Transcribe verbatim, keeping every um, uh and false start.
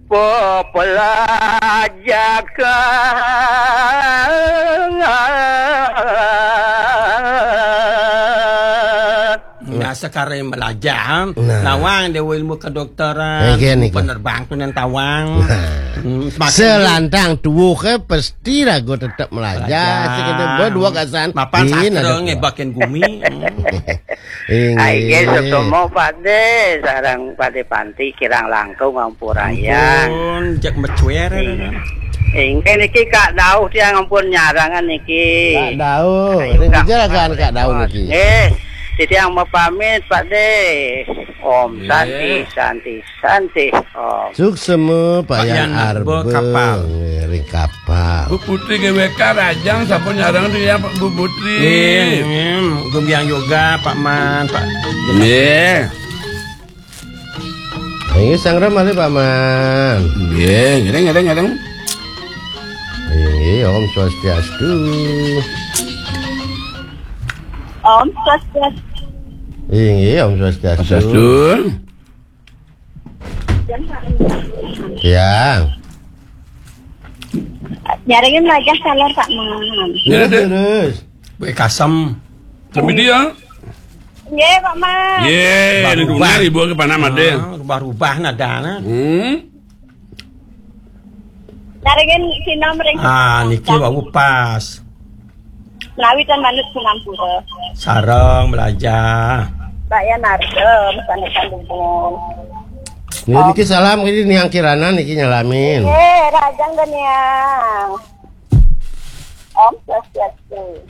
Pepelajakan. Nah, sekarang belajar, nah, nawang dia ilmu kedokteran, penerbang tu nan tawang. Nah. Hmm, semakin selantang tuwuh ke pasti ragu tetap melajar. Belajar. Sekena berdua kasan. Mapan sastra ngebakin gumi. Hmm. Inggih. Ai, nggih, sesama Pak De, sareng Pak De Panti kirang langkung ampurayang. Ampun, cek mecuer. Inggih niki Kak Dauh tiang ampun nyarangan niki. Kak Dauh, ayo, ring Kak, jeragan Kak Dauh niki. Nggih. Titiang mapamit Pak De. Om Santi, Santi, Santi Om. Suksema Pak Yan Arba. Nggih, ring kapal. Bu Putri G W K Rajang sampun nyarang tu ya, Bu Putri. Nggih, nggih. Gumbiang yoga, Pak Man, Pak. Nggih. Nggih, sangra malih, Pak Man. Nggih, ngiring, ngiring, ngiring. Nggih, Om Swastiastu. Om Swastiastu. Nggih, Om Swastiastu. Swastiastu. Ya. Nyarengin wajah salar Pak Man. Ya, terus. Wek kasem. Kami dia. Nggih, Pak Man. Nggih, ini dengar ibu ke panama deh. Ah, rubah-rubah nadana. Hmm. Nyarengin sinom ring. Ah, niki wau pas. Menawi ten manut sinampura. Sareng belajar. Pak Yan Arda, pesan-pesan dumun. Niki salam, ini Niang Kirana niki nyalamin. Eh, Rajang dan Niang. Om Swastiastu.